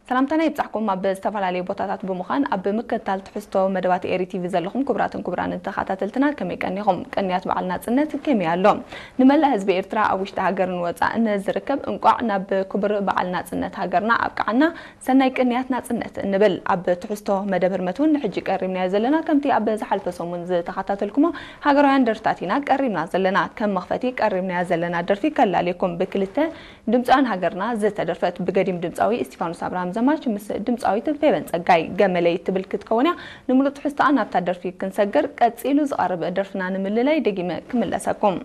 ሰላምታና ይብጻሕኩም። ኣብ ዝተፈላለዩ ቦታታት ብምዃን ኣብ ምክትታል ትሕዝቶ መደባት ኤሪ ቲቪ ዘለኹም ክቡራትን ክቡራንን ተኸታተልትና፣ ከመይ ቀኒኹም? ቅንያት በዓል ናጽነት ከመይ ኣሎ? ንመላእ ህዝቢ ኤርትራ ኣብ ውሽጢ ሃገርን ወጻእን ዝርከብ እንቋዕ ናብ ክቡር በዓል ናጽነት ሃገርና ኣብቅዓና፣ ሰናይ ቅንያት ናጽነት እንብል። ኣብ ትሕዝቶ መደብ ህርመት እውን ንሕጂ ቀሪብናዮ ዘለና፣ ከምቲ ኣብ ዝሓልፈ ሰሙን ዝተኸታተልኩሞ ሃገራውያን ደርፍታት ኢና ቀሪብና ዘለና። ከም መኽፈቲ ቀሪብናያ ዘለና ደርፊ ከላልየኩም፣ ብክልተ ድምፃውያን ሃገርና ዝተደርፈት፣ ብገዲም ድምፃዊ እስቲፋኖስ ኣብርሃም ዘማች ምስ ድምፃዊት ፌበን ጸጋይ። ገመለይ ትብል ክትከውን እያ። ንምሉእ ትሕዝቶኣ ናብታ ደርፊ ክንሰግር፣ ቀጺሉ ዝቐርብ ደርፍና ንምልላይ ደጊመ ክምለሰኩም።